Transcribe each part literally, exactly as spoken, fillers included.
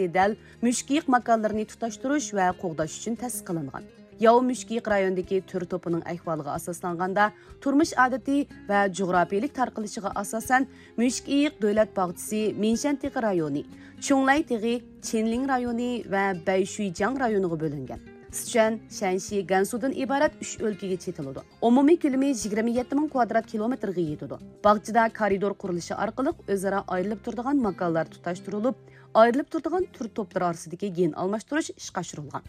دەل مۈشۈكىيىق ماكانلىرىنى تۇتاشتۇرۇش ۋە قوغداش ئۈچۈن تەسىس قىلىنغان. ياۋا مۈشۈكىيىق رايونىدىكى تۈر توپىنىڭ ئەھۋالىغا ئاساسلانغاندا، تۇرمۇش ئادىتى ۋە جۇغراپىيىلىك تارقىلىشىغا ئاساسەن، مۈشۈكىيىق دۆلەت باغچىسى مىنشەن تېغى رايونى، چۇڭلەي تېغى، چىنلىڭ رايونى ۋە بەيشۈيجياڭ رايونىغا بۆلۈنگەن. سىچۈەن، شەنشى، گەنسۇدىن ئىبارەت ئۈچ ئۆلكىگە چېتىلىدۇ. ئومۇمىي كۆلىمى يىگىرمە يەتتە مىڭ كۋادرات كىلومېتىرغا يېتىدۇ. باغچىدا كارىدور قۇرۇلۇشى ئارقىلىق ئۆزئارا ئايرىلىپ تۇرىدىغان ماكانلار تۇتاشتۇرۇلۇپ، ئايرىلىپ تۇرىدىغان تۈر توپلىرى ئارىسىدىكى گېن ئالماشتۇرۇش ئىشقا ئاشۇرۇلغان.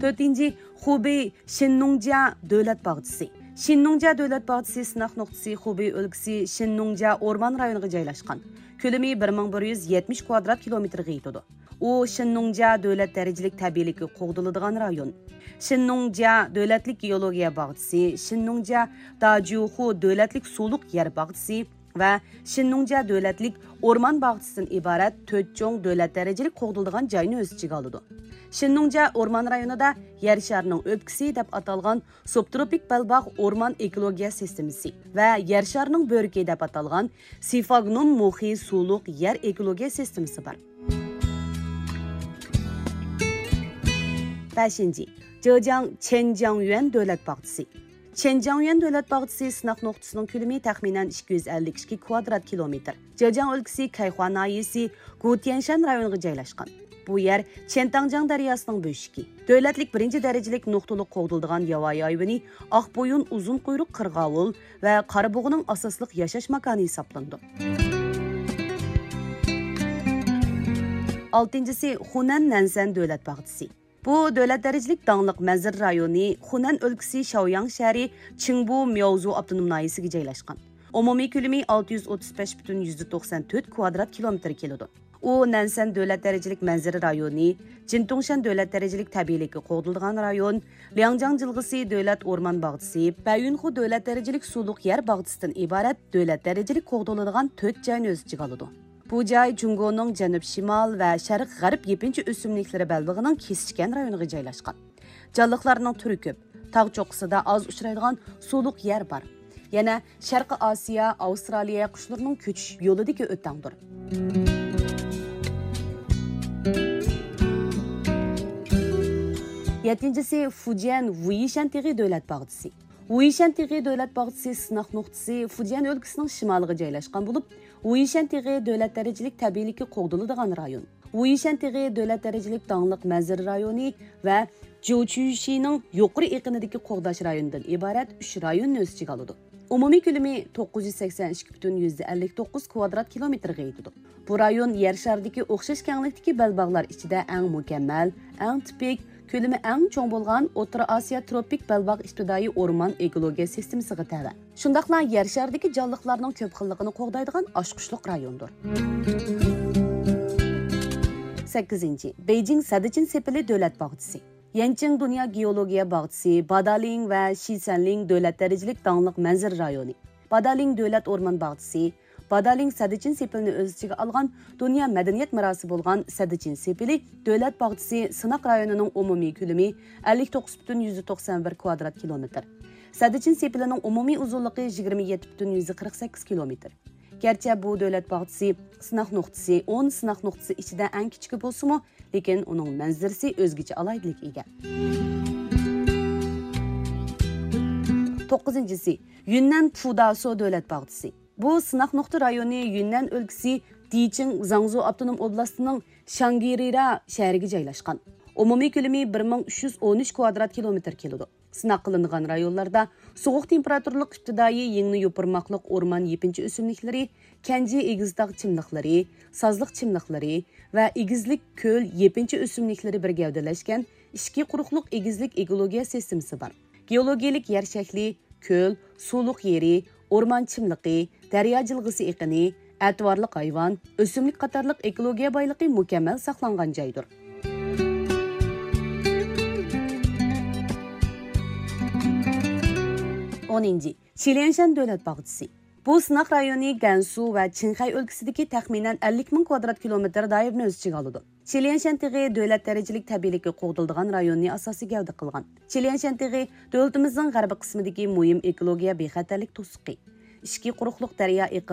تۆتىنچى، خۇبېي شىننۇڭجيا دۆلەت باغچىسى. شىننۇڭجيا دۆلەت باغچىسى سىناق نۇقتىسى خۇبېي ئۆلكىسى شىننۇڭجيا ئورمان رايونىغا جايلاشقان. كۆلىمى بىر مىڭ بىر يۈز يەتمىش كۋادرات كىلومېتىرغا يېتىدۇ. ئۇ شىننۇڭجيا دۆلەت دەرىجىلىك تەبىئىيلىكى قوغدىلىدىغان رايون. شىننۇڭجيا دۆلەتلىك گېئولوگىيە باغچىسى، شىننۇڭجيا داجيۇخۇ دۆلەتلىك سۇلۇق يەر باغچىسى ۋە شىننۇڭجيا دۆلەتلىك ئورمان باغچىسىدىن ئىبارەت تۆت چوڭ دۆلەت دەرىجىلىك قوغدىلىدىغان جاينى ئۆز ئىچىگە ئالىدۇ. شىننۇڭجيا ئورمان رايونىدا يەر شارىنىڭ ئۆپكىسى دەپ ئاتالغان سۇبتروپىك بەلباغ ئورمان ئېكولوگىيە سىستېمىسى ۋە يەر شارىنىڭ بۆرىكى دەپ ئاتالغان سىفاگنۇم مۇخى سۇلۇق يەر ئېكولوگىيە سىستېمىسى بار. بەشىنچى، جېجياڭ چېنجياڭيۈەن دۆلەت باغچىسى. چېنجياڭيۈەن دۆلەت باغچىسى سىناق نۇقتىسىنىڭ كۆلىمى تەخمىنەن ئىككى يۈز ئەللىك ئىككى كۋادرات كىلومېتىر. جېجياڭ ئۆلكىسى كەيخۇا ناھىيەسى گۇتيەنشەن رايونىغا جايلاشقان. بۇ يەر چيەنتاڭجياڭ دەرياسىنىڭ بۆشۈكى. دۆلەتلىك بىرىنچى دەرىجىلىك نۇقتىلىق قوغدىلىدىغان ياۋايى ھايۋىنى ئاق بويۇن ئۇزۇن قۇيرۇق قىرغاۋۇل ۋە قارا بۇغىنىڭ ئاساسلىق ياشاش ماكانى ھېسابلىنىدۇ. ئالتىنچىسى، خۇنەن نەنسەن دۆلەت باغچىسى. بۇ دۆلەت دەرىجىلىك داڭلىق مەنزىرە رايونى خۇنەن ئۆلكىسى شاۋياڭ شەھىرى چىڭبۇ مياۋزۇ ئاپتونوم ناھىيەسىگە جايلاشقان. ئومۇمىي كۆلىمى ئالتە يۈز ئوتتۇز بەش پۈتۈن يۈزدە توقسان تۆت كۋادرات كىلومېتىر كېلىدۇ. ئۇ نەنسەن دۆلەت دەرىجىلىك مەنزىرە رايونى، جىنتۇڭشەن دۆلەت دەرىجىلىك تەبىئىيلىكى قوغدىلىدىغان رايون، لياڭجياڭ جىلغىسى دۆلەت ئورمان باغچىسى، بەيۈنخۇ دۆلەت دەرىجىلىك سۇلۇق يەر باغچىسىدىن ئىبارەت دۆلەت دەرىجىلىك قوغدىلىدىغان تۆت جاينى ئۆز ئىچىگە ئالىدۇ. بۇ جاي جۇڭگونىڭ جەنۇب شىمال ۋە شەرق غەرب يېپىنچا ئۆسۈملۈكلىرى بەلبېغىنىڭ كېسىشكەن رايونىغا جايلاشقان. جانلىقلارنىڭ تۈرى كۆپ. تاغ چوققىسىدا ئاز ئۇچرايدىغان سۇلۇق يەر بار. يەنە شەرقىي ئاسىيا، ئاۋسترالىيە قۇشلىرىنىڭ كۆچۈش يولىدىكى ئۆتەڭدۇر. يەتتىنچىسى، فۇجيەن ۋۇيىشەن تېغى دۆلەت باغچىسى. ۋۇيىشەن تېغى دۆلەت باغچىسى سىناق نۇقتىسى فۇجيەن ئۆلكىسىنىڭ شىمالىغا جايلاشقان بولۇپ، ۋۇيىشەن تېغى دۆلەت دەرىجىلىك تەبىئىيلىكى قوغدىلىدىغان رايون. ۋۇيىشەن تېغى دۆلەت دەرىجىلىك داڭلىق مەنزىرە رايونى ۋە جوچۈشىنىڭ يۇقىرى ئېقىنىدىكى قوغداش رايونىدىن ئىبارەت ئۈچ رايوننى ئۆز ئىچىگە ئالىدۇ. ئومۇمىي كۆلىمى توققۇز يۈز سەكسەن ئىككى پۈتۈن يۈزدە ئەللىك توققۇز كۋادرات كىلومېتىرغا يېتىدۇ. بۇ رايون يەر شارىدىكى ئوخشاش كەڭلىكتىكى بەلباغلار ئىچىدە ئەڭ مۇكەممەل، ئەڭ تىپىك، كۆلىمى ئەڭ چوڭ بولغان ئوتتۇرا ئاسىيا تروپىك بەلباغ ئىپتىدائىي ئورمان ئېكولوگىيە سىستېمىسىغا تەۋە. شۇنداقلا يەر شارىدىكى جانلىقلارنىڭ كۆپ خىللىقىنى قوغدايدىغان ئاچقۇچلۇق رايوندۇر. سەككىزىنچى، بېيجىڭ سەددىچىن سېپىلى دۆلەت باغچىسى. يەنچىڭ دۇنيا گېئولوگىيە باغچىسى، بادالىڭ ۋە شىسەنلىڭ دۆلەت دەرىجىلىك داڭلىق مەنزىرە رايونى. بادالىڭ دۆلەت ئورمان باغچىسى، بادالىڭ سەددىچىن سېپىلىنى ئۆز ئىچىگە ئالغان دۇنيا مەدەنىيەت مىراسى بولغان سەددىچىن سېپىلى دۆلەت باغچىسى سىناق رايونىنىڭ ئومۇمىي كۆلىمى ئەللىك توققۇز پۈتۈن يۈزدە توقسان بىر كۋادرات كىلومېتىر. سەددىچىن سېپىلىنىڭ ئومۇمىي ئۇزۇنلۇقى يىگىرمە يەتتە پۈتۈن يۈزدە قىرىق سەككىز كىلومېتىر. گەرچە بۇ دۆلەت باغچىسى سىناق نۇقتىسى ئون سىناق نۇقتىسى ئىچىدە ئەڭ كىچىكى بولسىمۇ، لېكىن ئۇنىڭ مەنزىرىسى ئۆزگىچە ئالاھىدىلىككە ئىگە. توققۇزىنچىسى، يۈننەن پۇداسو دۆلەت باغچىسى. بۇ سىناق نۇقتا رايونى يۈننەن ئۆلكىسى دىچىڭ زاڭزۇ ئاپتونوم ئوبلاستىنىڭ شاڭگرىرا شەھىرىگە جايلاشقان. ئومۇمىي كۆلىمى بىر مىڭ ئۈچ يۈز ئون ئۈچ كۋادرات كىلومېتىر كېلىدۇ. سىناق قىلىنغان رايونلاردا سوغۇق تېمپېراتۇرىلىق ئىپتىدائىي يىڭنە يوپۇرماقلىق ئورمان يېپىنچا ئۆسۈملۈكلىرى، كەنجى ئېگىزتاغ چىملىقلىرى، سازلىق چىملىقلىرى ۋە ئېگىزلىك كۆل يېپىنچا ئۆسۈملۈكلىرى بىر گەۋدىلەشكەن ئىچكى قۇرۇقلۇق ئېگىزلىك ئېكولوگىيە سىستېمىسى بار. گېئولوگىيەلىك يەر شەكلى، كۆل، سۇلۇق يېرى، ئورمان چىملىقى، دەريا جىلغىسى ئېقىنى، ئەتىۋارلىق ھايۋان، ئۆسۈملۈك قاتارلىق ئېكولوگىيە بايلىقى مۇكەممەل ساقلانغان جايدۇر. ئونىنچى، چىليەنشەن دۆلەت باغچىسى. بۇ سىناق رايونى گەنسۇ ۋە چىڭخەي ئۆلكىسىدىكى تەخمىنەن ئەللىك مىڭ كۋادرات كىلومېتىر دائىرىنى ئۆز ئىچىگە ئالىدۇ. چىليەنشەن تېغى دۆلەت دەرىجىلىك تەبىئىيلىكى قوغدىلىدىغان رايوننى ئاساسىي گەۋدە قىلغان. چىليەنشەن تېغى دۆلىتىمىزنىڭ غەربىي قىسمىدىكى مۇھىم ئېكولوگىيە بىخەتەرلىك توسۇقى. ئىچكى قۇرۇقلۇق دەريا ئېقىنى